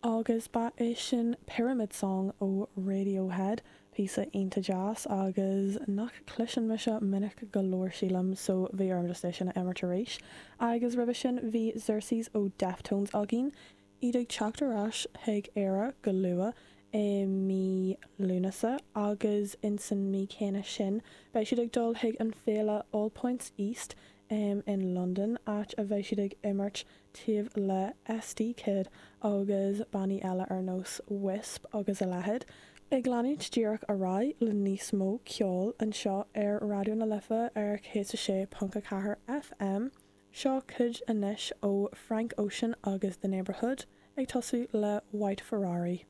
Agus ba é sin Pyramid Song ó Radiohead, píosa iontach deas agus nach cloiseann mise minic go leor sílim, so bhí orm just é sin a imirt arís. Agus roimhe sin bhí Xerxes ó Deftones againn, iad ag teacht ar ais chuig Éire go luath i mí Lúnasa agus insan mí céanna sin beidh siad ag dul chuig an féile All Points East in Londain, áit a bheidh siad ag imirt taobh le SD Kid agus bannaí eile ar nós Wisp agus a leithéid. Ag leanúint díreach ar aghaidh le níos mó ceoil anseo ar Raidió na Life ar 106.4 FM, seo cuid anois ó Frank Ocean agus The Neighbourhood, ag tosú le White Ferrari.